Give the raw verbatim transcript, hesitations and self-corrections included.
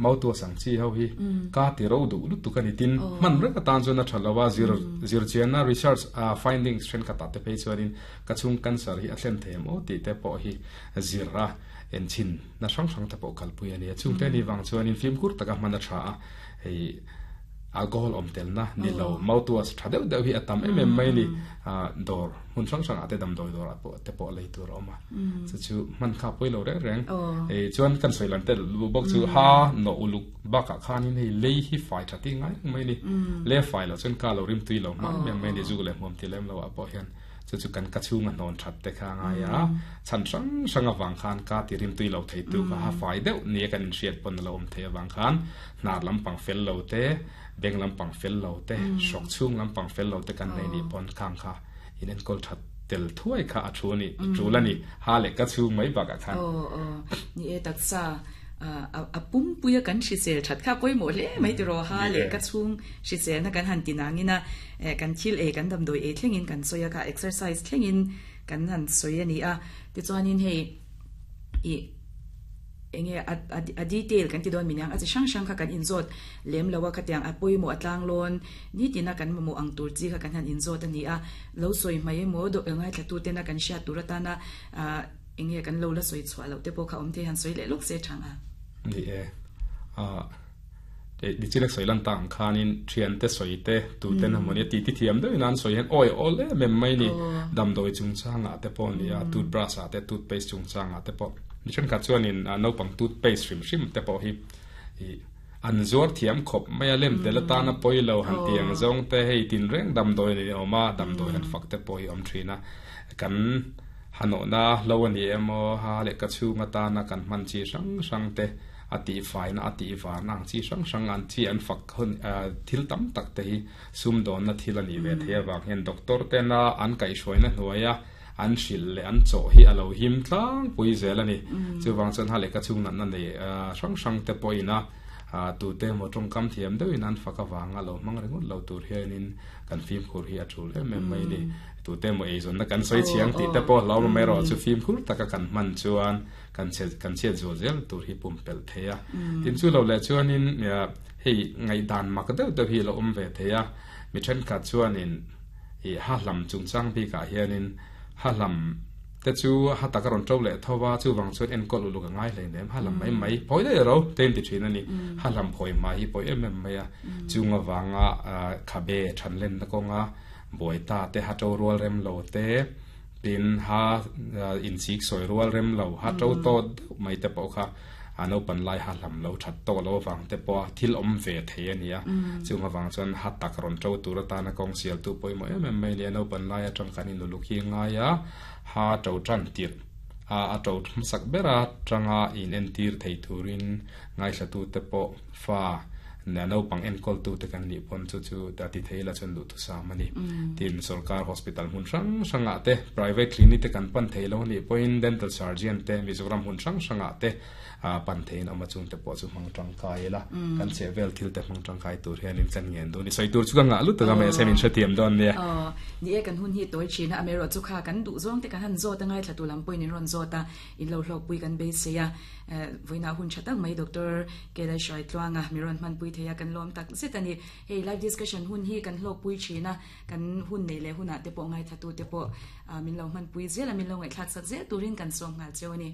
Mouthwash ang chi ho hi ka ti ro du lu tu kan itin man rek atan chuan a thalawa zir zir chian na research findings then khata te phei chuanin ka chung cancer hi a thlen them o ti te pawh hi zira en chin na sang sang te pawh kalpui ani chung te ni wang chuanin film kur taka man a tha a hei alcohol om tel na ni lo mouthwash tha deuh deuh hi atam em em mai ni dor hun sang sang ate dam doi dor apo te po lei tur oma chu chu man kha poi lo reng reng e chuan kan soilan te lu bok chu ha no uluk baka khanin hei lei hi fai thati ngai mai ni le fai lo chuan ka lo rim tui lo ma mem mai ni zu le hmom ti lem lo apo hian chu chu kan ka chunga non that te kha nga ya chan sang sang awang khan ka ti rim tui lo thei tu ka ha fai deuh ni kan in hriat pon lo om the awang khan nar lampang fel lo te beng lampang fel lo te sok chung lampang fel lo te kan nei ni pon khang kha in en kol that tel thuai kha a thu ni chula ni ha le ka chung mai ba ka khan o o ni e tak sa a pum puya kan hrisel that kha poi mo le mai ti ro ha le ka chung hrisel na kan han tinangina kan thil e kan dam doi e thlengin kan soya ka exercise thlengin kan han soya ni a ti chuanin hei i enge a detail kan ti don minang a chi sang sang kha kan inzot lem lawa kha tiang a poi mo atlang lon ni tina kan mo ang tur chi kha kan han inzot ani a lo soi mai mo do ngai thla tu te na kan sha turata na enge kan lo la soi chwa lo te po kha om te han soi le lok se thanga ni e a de di chilek soi lan tang khanin thian te soi te tu te na moni ti ti thiam de nan soi hen oi ol e mem mai ni dam doi chung changa te pon ni a toothbrush a te toothpaste chung changa te po ni chen kha chuan in no pang toothpaste rim rim te po hi an zor thiam khop mai a lem te la ta na poi lo han tiang zong te hei tin reng dam doi ni oma dam doi han fak te poi om thina kan hano na lo ani emo ha le ka chunga ta na kan man chi sang sang te ati fai na ati wa nang chi sang sang an chi an fak hun thil tam tak te hi sum don na thil ani ve the wang hen doctor te na an kai shoi na hnuaya an hril le an chaw hi alo him tlang pui zel ani chu wang chuan ha le ka chung nan na nei sang sang te poina tu te mo tong kam thiam deuhin an faka wanga lo mang ringot lo tur hianin kan phim khur hi a thul em em mai ni tu te mo eizon na kan soi chiang ti te po lo mai ro chu phim khur taka kan man chuan kan che kan che zo zel tur hi pum pel theia tin chu lo le chuanin hei ngai dan mak deuh deuh hi lo om ve theia mi then khat chuanin i ha lam chung chang bi ka hianin ha lam te chu ha taka ron tro le thowa chu wang chuan en kol ulu ka ngai hlei nem ha lam mai mai phoi de ro ten ti thin ani ha lam phoi mai hi poi em em mai a chunga wanga khabe than len na konga boita te ha to rual rem lo te tin ha in sik soi rual rem lo ha to to mai te po kha ano pan lai ha lam lo that to lo wang te po thil om ve the ania chunga wang chuan ha tak ron tro tur ta na kong sial tu poi mo em em mai le no pan lai atang kanin lu khi nga ya ha to tran tir a a to sak bera tanga in en tir thei turin ngai thla tu te po fa na no pang en kol tu te kan ni pon chu chu ta ti theila chun du tu sa mani tin sarkar hospital hun sang sanga te private clinic te kan pan theilo ni point dental surgeon te Mizoram hun sang sanga te a pan thein ama chung te po chu mang tang kai la kan che vel thil te mang tang kai tur hian in chan ngen du ni soi tur chu ka nga lu ta me semin shathiam don ne ni e kan hun hi toi china amero chu kha kan du zong te kan han zo ta ngai thla tu lam point in ron zo ta in lo hlok pui kan be se ya voina hun chatak mai doctor kelai shoi tluanga miron man pui theya kan lom tak setani hei live discussion hun hi kan hlok pui china kan hun nei le huna te po ngai thatu te po min lo man pui zela min lo ngai thlak sak zel turin kan som ngal chewani.